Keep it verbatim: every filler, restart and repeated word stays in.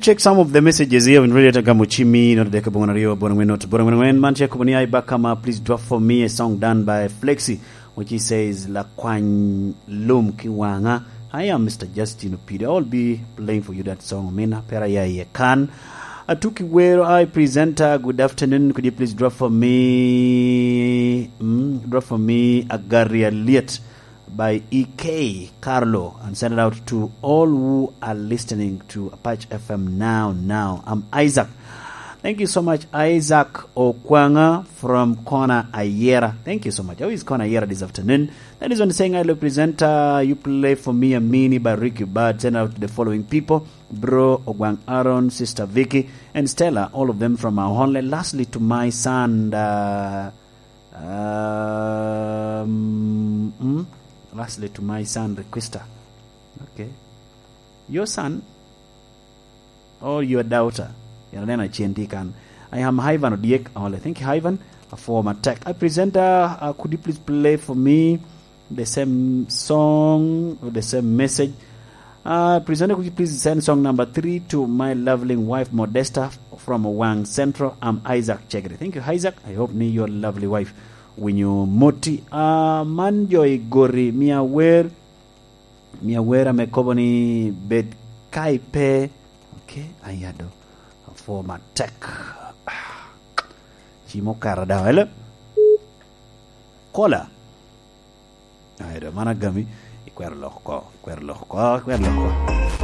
Check some of the messages here in Radio Tagamo Chimi, not deke bongo aryo, bongo angwen, not bongo angwen angwen. Man check ni, "Hi Bakama, please drop for me a song done by Flexi, which he says, Lakwany Lum Kiwanga." I am Mister Justin Opide. I'll be playing for you that song, Mina. Pera ya ye kan. Atuki Wero, "Hi presenter, good afternoon. Could you please drop for me, mm, drop for me a Gary Aliet by E K Carlo and send it out to all who are listening to Apache F M now, now." I'm Isaac. Thank you so much, Isaac Okwanga from Kona Ayera. Thank you so much. How is Kona Ayera this afternoon? That is one saying, "Hello, presenter. You play for me a mini by Ricky Bird. Send out to the following people: Bro Ogwang Aaron, Sister Vicky, and Stella, all of them from our only. Lastly, to my son, uh, um, mm, lastly, to my son, Requesta." Okay. Your son or your daughter? Yan aneno acen tye kan. "I am Ivan Odiek." Ole, thank you, Ivan. A former tech. "I presenter, uh, could you please play for me the same song or the same message? Uh, presenter, could you please send song number three to my lovely wife Modesta from Wang Central? I'm Isaac Chegre." Thank you, Isaac. I hope ni your lovely wife winyo moti. Uh, man jo i gori, mia wer, mia wer ame kobo ni, "Bed ka ipe." Okay, ayado. A former tech. Ci mo kara daw, ele. Kola. Ai, do man agami. Ikwero lok oko, ikwero lok oko, ikwero lok oko.